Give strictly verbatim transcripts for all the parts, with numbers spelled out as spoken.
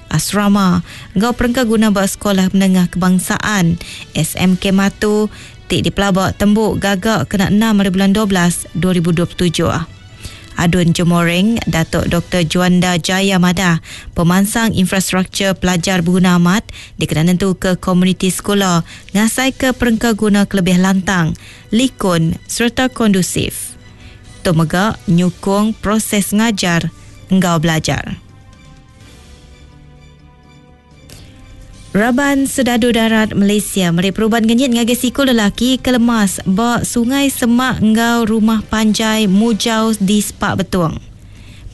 asrama enggau perengka guna ba Sekolah Menengah Kebangsaan S M K Matu ti dipelaba tembu gagak kena enam hari bulan dua belas dua ribu dua puluh tujuh. Adun Jemoreng, Datuk Doktor Juanda Jaya madah, pemansang infrastruktur pelajar berguna amat dikena nentu ke komuniti sekolah ngasai ke perengka guna kelebih lantang, likun serta kondusif. Tu mega nyukung proses ngajar enggau belajar. Raban Sedadu Darat Malaysia meri perubat ngenyit ngagai siku lelaki ke lemas ba Sungai Semak enggau Rumah Panjai Mujau di Sepak Betong.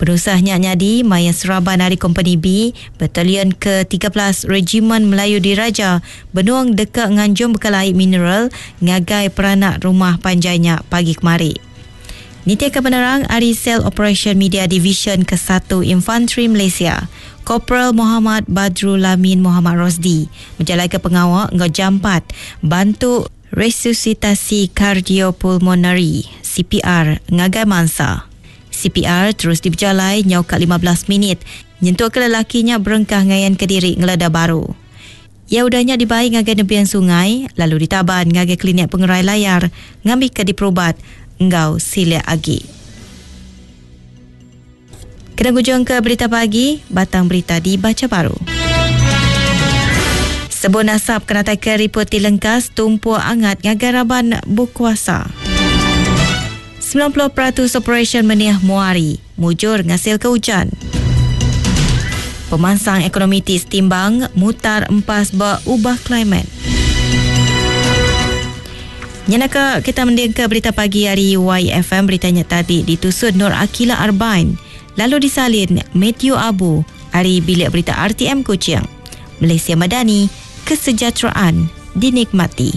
Penusahnya nyadi maya seraban ari Kompeni B, Batalion ke tiga belas Regimen Melayu Diraja benung deka nganjung bekal air mineral ngagai peranak rumah panjainya pagi kemari. Nitia ke penerang ari Sel Operation Media Division ke satu Infantry Malaysia, Korporal Muhammad Badrul Lamin Muhammad Rosdi menjalankan pengawal enggau jampat bantu resusitasi kardiopulmonari C P R ngagai mangsa. C P R terus diberjalai nyau kat lima belas minit nyentuk ke lelakinya berengkah ngayan ke diri ngeleda baru. Ia udahnya dibai ngagai nebian sungai lalu ditaban ngagai klinik pengerai layar ngambil ke diperubat enggau silik agi. Kena gujung ke berita pagi, batang berita dibaca baru. Sebun asap kena tai ke riput ti lengkas tumpuk angat ngagai raban berkuasa. sembilan puluh peratus operasi meniah muari, mujur ngasil ke hujan. Pemansang ekonomi ti setimbang mutar empas ba ubah klimat. Nyenaka kita mending ke berita pagi hari Y F M, beritanya tadi ditusut Nur Akila Arbain, lalu disalin Matthew Abu hari bilik berita R T M Kuching. Malaysia Madani, kesejahteraan dinikmati.